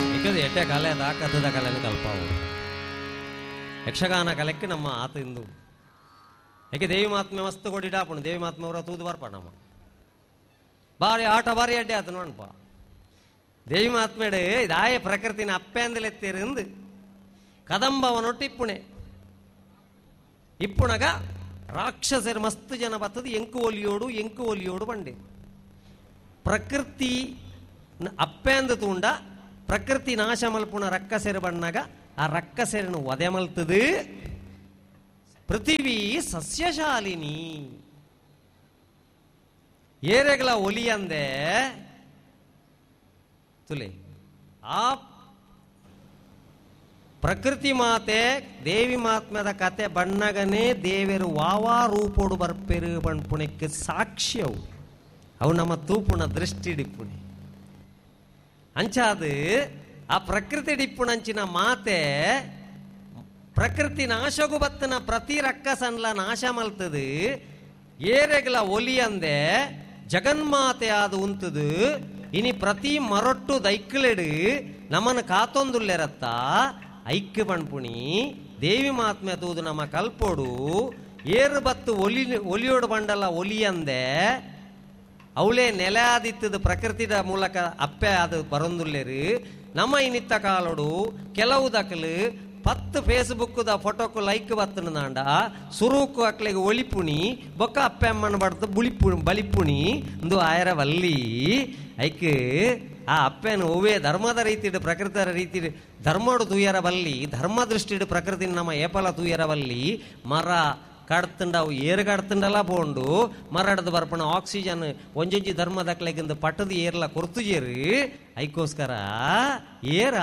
ಇಕ್ಕದು ಎಟ್ಟೆ ಕಲೆ ದಾಕತ್ತದ ಕಲೆನ ಕಲ್ಪಾವು ಯಕ್ಷಗಾನ ಕಲೆಕ್ಕೆ ನಮ್ಮ ಆತ ಇಂದು ಏಕೆ ದೇವಿ ಮಾತ್ಮೆ ಮಸ್ತ್ ಕೊಡಿಡಾಪುಣು ದೇವಿ ಮಾತ್ಮೆ ಅವರ ತೂದು ಬರ್ಪ ನಮ್ಮ ಬಾರಿ ಆಟ ಬಾರಿ ಅಡ್ಡೆ ಆತ ನೋಡಪ್ಪ ದೇವಿ ಮಾತ್ಮೆಡು ಇದಾಯ ಪ್ರಕೃತಿನ ಅಪ್ಪೆಂದಲೆತ್ತೀರಿಂದು ಕದಂಬವನೊಟ್ಟು ಇಪ್ಪುಣೆ ಇಪ್ಪುಣಗ ರಾಕ್ಷಸರು ಮಸ್ತ್ ಜನ ಬತ್ತದು ಎಂಕು ಒಲಿಯೋಡು ಎಂಕು ಒಲಿಯೋಡು ಬಂಡೆ ಪ್ರಕೃತಿ ಅಪ್ಪೆಂದು ತೂಂಡ ಪ್ರಕೃತಿ ನಾಶ ಮಲ್ಪುಣ ರಕ್ಕಸೆರು ಬಣ್ಣಗ ಆ ರಕ್ಕಸೆರನು ವಧೆ ಮಲ್ತದು ಪೃಥಿವಿ ಸಸ್ಯಶಾಲಿನಿ ಏರೆಗಳ ಒಲಿಯಂದೆ ತುಲೆ ಆ ಪ್ರಕೃತಿ ಮಾತೆ ದೇವಿ ಮಾತ್ಮದ ಕತೆ ಬಣ್ಣಗನೇ ದೇವರು ವಾವಾ ರೂಪೋಡು ಬರ್ಪೆರು ಬಣ್ಪುಣಕ್ಕೆ ಸಾಕ್ಷಿ ಅವು ಅವು ನಮ್ಮ ತೂಪುಣ ದೃಷ್ಟಿ ಡಿಪ್ಪುಣಿ ಅಂಚಾದು ಆ ಪ್ರಕೃತಿ ಡಿಪ್ಪುಣಂಚಿನ ಮಾತೆ ಪ್ರಕೃತಿ ನಾಶಗು ಬತ್ತನ ಪ್ರತಿ ರಕ್ಕಸನ್ಲ ನಾಶ ಮಲ್ತದು ಏರೆಗಳ ಒಲಿಯಂದೆ ಜಗನ್ಮಾತೆ ಆದ ಉಂತದು ಇನಿ ಪ್ರತಿ ಮರೊಟ್ಟು ದೈಕ್ಲೆಡು ನಮನ ಕಾತೊಂದುಲ್ಲೆರತ್ತ ಐಕ್ಯ ಪಣ್ಪುಣಿ ದೇವಿ ಮಾತ್ಮೆ ತೂದು ನಮ್ಮ ಕಲ್ಪೋಡು ಏರು ಬತ್ತು ಒಲಿ ಒಲಿಯೋಡು ಬಂಡಲ ಒಲಿಯಂದೆ ಅವಳೇ ನೆಲೆ ಆದಿತ್ತದು ಪ್ರಕೃತಿದ ಮೂಲಕ ಅಪ್ಪೆ ಅದು ಬರೊಂದುಲ್ಲೇರು ನಮ್ಮ ಇನ್ನಿತ್ತ ಕಾಲೋಡು ಕೆಲವು ದಕಲು 10 ಫೇಸ್ಬುಕ್ದ ಫೋಟೋಕು ಲೈಕ್ ಬತ್ತನದಾಂಡ ಸುರುಕು ಅಕ್ಲೆಗೆ ಒಲಿಪುಣಿ ಬೊಕ್ಕ ಅಪ್ಪೆ ಅಮ್ಮನ ಬಡ್ದು ಬುಳಿಪು ಬಲಿಪುಣಿ ಇಂದು ಆಯರ ವಲ್ಲಿ ಐಕ್ ಆ ಅಪ್ಪೆನ ಒವ್ವೇ ಧರ್ಮದ ರೀತಿಡು ಪ್ರಕೃತರ ರೀತಿ ಧರ್ಮಡು ತೂಯರ ಬಲ್ಲಿ ಧರ್ಮ ದೃಷ್ಟಿಡು ಪ್ರಕೃತಿ ನಮ್ಮ ಏಪಲ ತೂಯರ ಬಲ್ಲಿ ಮರ ಕಡ್ತುಂಡ ಅವು ಏರು ಕಡ್ತುಂಡಲ ಪೋಂಡು ಮರಡ್ದು ಬರ್ಪಣ ಆಕ್ಸಿಜನ್ ಒಂಜೊಂಜಿ ಧರ್ಮದಕ್ಲೆಗಿಂದು ಪಟ್ಟದ ಏರ್ಲ ಕೊರ್ತುಜೇರು ಐಕೋಸ್ಕರ ಏರ.